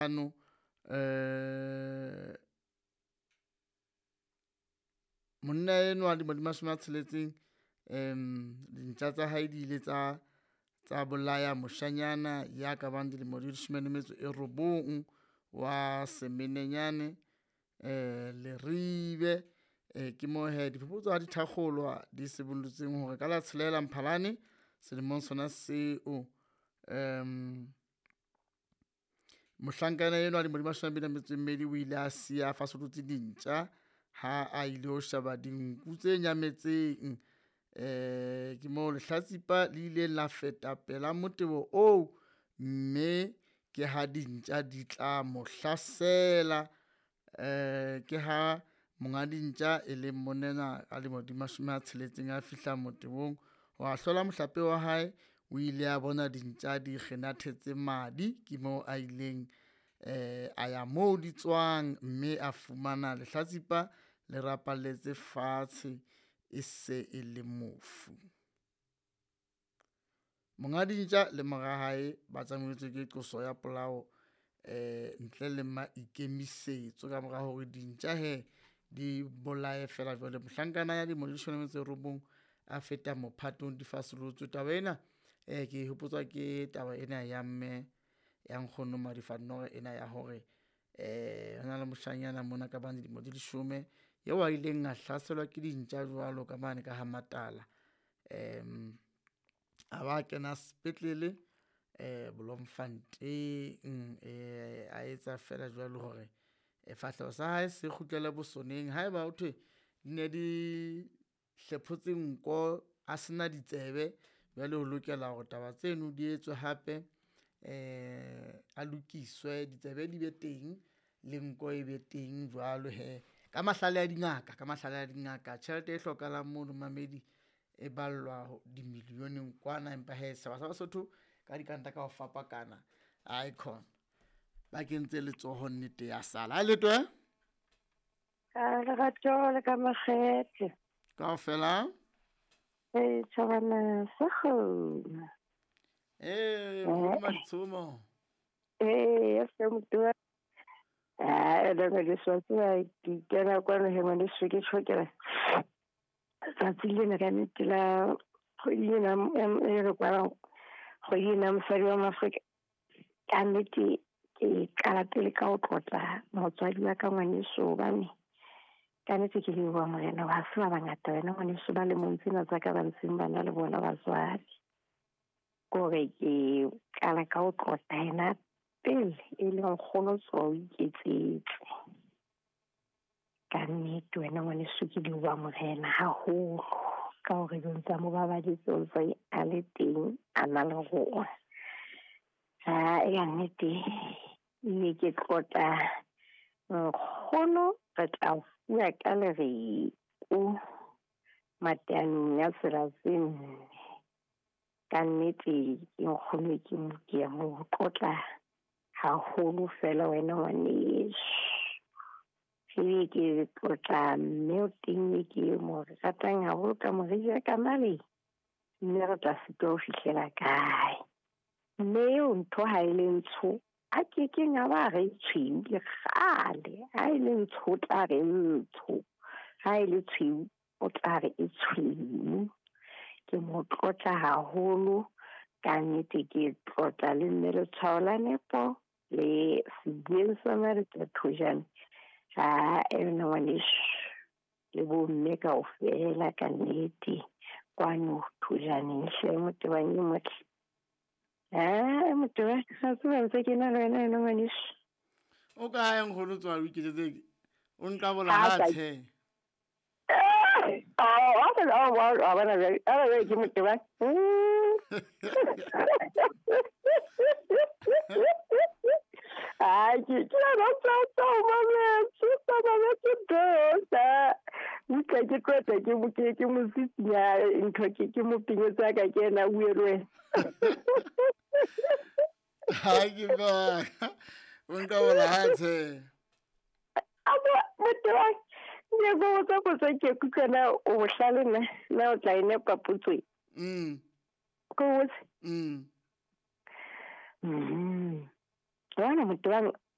Ano monna enwa dilemo di 60, dintja tsa hae di ile tsa bolaya moshanyana ya ka bang dilemo di 19 wa Semenenyane Leribe. Ke moo he diphuputso ha di thakgolwa di sibollotseng hore ka la 6 Mphalane selemong sona seo, mohlankana enwa dilemo di 22 o ile a siya a fasollotse dintja ha a ile ho sheba dinku tse nyametseng. Ke moo lehlatsipa le ile la feta pela motebo oo, mme ke ha dintja di tla mo hlasela. Ke ha monga dintja e leng monna enwa a dilemo di 60 a fihla motebong wa hlola mohlape wa hae, o ile a bona dintja di kgenathetse madi. Ke moo a ileng a ya moo di tswang, mme a fumana lehlatsipa le rapalletse fatshe e se e le mofu. Monga dintja le mora hae ba tjametswe ke qoso ya polao ntle le maikemisetso ka mora hore dintja he di bolaye fela jwale mohlankana ya dilemo di 19 a feta mophatong di fasolotswe. Taba ena ke hopotswa ke taba ena ya mme ya nkgono Madifannore ena ya hore hona le moshanyana mona ka bang dilemo di 10 eo a ileng a hlaselwa ke dintja jwalo ka mane ka ha Matala. A ba kena sepetlele Bloemfontein, a etsa fela jwalo hore fahleho sa hae se kgutlele bosoneng. Haeba ho thwe di ne di hlephotse nko, a sena ditsebe, jwale o lokela hore taba tseno di etswe hape a lokiswe ditsebe di be teng le nko e be teng jwalo he. Ka mahlale a dingaka, ka mahlale a dingaka tjhelete e hlokahalang mono mamedi e ballwa dimillioneng kwana, empa he setjhaba sa Basotho ka dikranta ka ho fapakana aikhona ba kentse letsoho nnete ya sala. Ha le twe Ka lerato le ka makgethe. Kaofela. E tjhabana sa kgona. Nkgono Maditshomo. Ya se motho. Ah, le me le swatsa ke kena kwano he ngwaneso ke tjhokela. Tsatsi lena ka nnete la kgwedi ena e re kwalang, kgwedi ena mosadi wa Maafrika. Ka nnete ke qala pele ka ho tlotla motswadi wa ka ngwaneso, hobane ka nnete ke leboha Morena ha se ba bangata wena ngwaneso ba lemong tsena tsa ka ba ntseng ba na le bona batswadi. Kore ke qala ka ho tlotla yena pele e leng nkgono tswa o iketsetse. Ka nnete wena ngwaneso ke leboha Morena haholo ka hore o ntsa mo babaditse, o ntse a le teng a na le rona. Ha ya nnete ne ke tlotla nkgono re tla fuwa ka lereko mateanong ya tsela tse nne. Ka nnete ke nkgono ke mo ke mo tlotla haholo fela wena ngwaneso. Ebe ke tlotla mme o teng e ke mo ratang haholo ka moriri ya ka male, mme re tla sitwa ho fihlela kae. Mme eo ntho ha e le ntsho, a kekeng a ba re tshweu le kgale. Ha e le ntsho o tla re ntsho, ha e le tshweu o tla re e tshweu. Ke mo tlotla haholo ka nnete, ke tlotla le mme letshwao la nepo le sebueng sa Marita Thojane. Ha ena ngwaneso le bomme kaofela ka nnete kwano Thojaneng hle motebang e motle. Ha motebang ha tseba ntse ke na le wena ena ngwaneso. O kae nkgono tswa o iketsetse o nka bola ha tshe. Ke motebang. Ai, ke rata tsa mametse, tsa mametse dosa. Utlwa ke tlotla ke mo ke mo sisinya ntho ke mo pinyetsa ka ke ena bue le wena. Ha ke ba. O nka bola ha tshe. Abo motebang ke go botsa potso ke kutlwa na o bohlale na na o tla e nepa potso e. Ko botse? Bona motebang